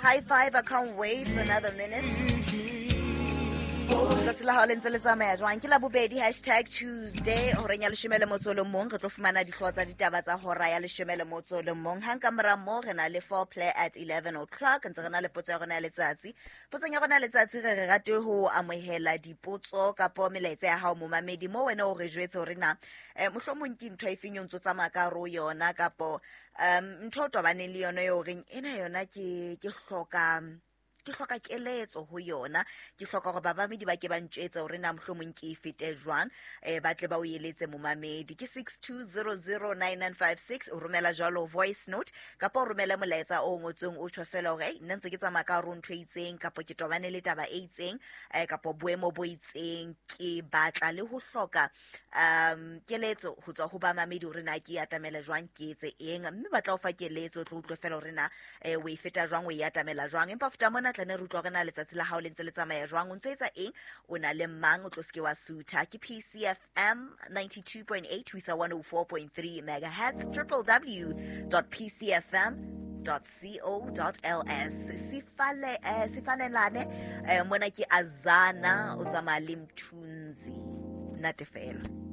High five, I can't wait another minute. Tsatsi la hao le ntse le tsamaya jwang? Ke la bobedi, hashtag Tuesday, horeng ya leshome le motso o le mong re tlo fumana dihlooho tsa ditaba tsa hora ya leshome le motso o le mong. Hang ka mora moo re na le four play at 11 o'clock. Ntse re na le potso ya rona ya letsatsi. Potsong ya rona ya letsatsi re re rate ho amohela dipotso kapo melaetsa ya hao momamedi, mo wena o re jwetse hore na mohlomong ke ntho e feng eo ntso tsamaya ka hare ho yona, kapo ntho o tobaneng le yona eo reng ena yona ke hloka keletso ho yona, ke hloka hore babamedi ba ke ba ntjwetse hore na mohlomong ke e fete jwang, ba tle ba o eletse momamedi. Ke 62009956, o romela jwalo voice note kapa o romele molaetsa o ngotsweng o tjho fela hore, ei, nna ntse ke tsamaya ka hare ho ntho e itseng, kapa ke tobane le taba e itseng, kapa boemo bo itseng, ke batla le ho hloka keletso ho tswa ho bamamedi hore na ke e atamela jwang, ke etse eng, mme ba tla o fa keletso, o tlo utlwe fela hore na o e feta jwang, o e atamela jwang. Empa ho feta mona tla ne re utlwa hore na letsatsi la hao le ntse le tsamaya jwang, o ntso etsa eng, o na le mang, o tlo seke wa sutha. Ke PCFM 92.8 ho isa 104.3 megahertz, triple w dot p c f m dot co dot l s. Sifale, sifanelane, mona ke Azana, o tsamaya le Mthunzi. Natefelo.